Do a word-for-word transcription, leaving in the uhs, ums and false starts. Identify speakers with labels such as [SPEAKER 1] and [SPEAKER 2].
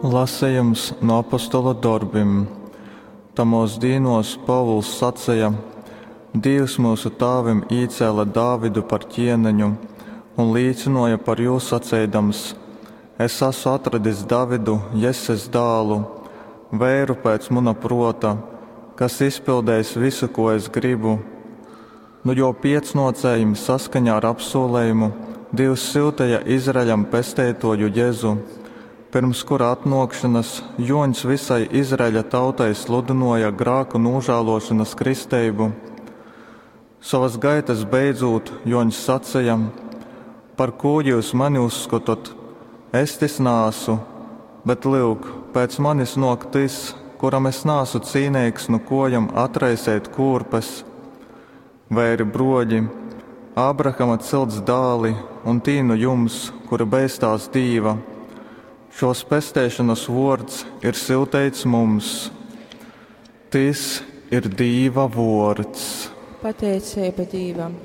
[SPEAKER 1] Lasejums nu Apostolu dorbim. Tamōs dīnōs Pōvuls saceja, Dīvs myusu tāvim īcēle Davidu par ķieneņu un līcynōja par jū saceidams, Es asu atradis Davidu, Jesses dālu, veiru pēc muna prōta, kas izpiļdeis vysu, kū es grybu. Nu jō piecnōcējim saskaņā ar apsūlejumu Dīvs syuteja Izraeļam Pesteitōju Jezu, pyrms kura atnōkšonas Jōņs vysai Izraeļa tautai sludynōja grāku nūžālōšonas kristeibu. Sovas gaitas beidzūt, Jōņs saceja, Par kū jyus mani uzskotot? Es tys naasu. Bet, lyuk, pēc manis nōk tys, kuram es naasu cīneigs nu kōjom atraiseit kūrpes. Veiri, brōļi, Abrahama cilts dāli un tī nu jums, kuri beistās Dīva, šōs pesteišonas vōrds ir syuteits mums. Tys ir Dīva vōrds.
[SPEAKER 2] Pateiceiba Dīvam.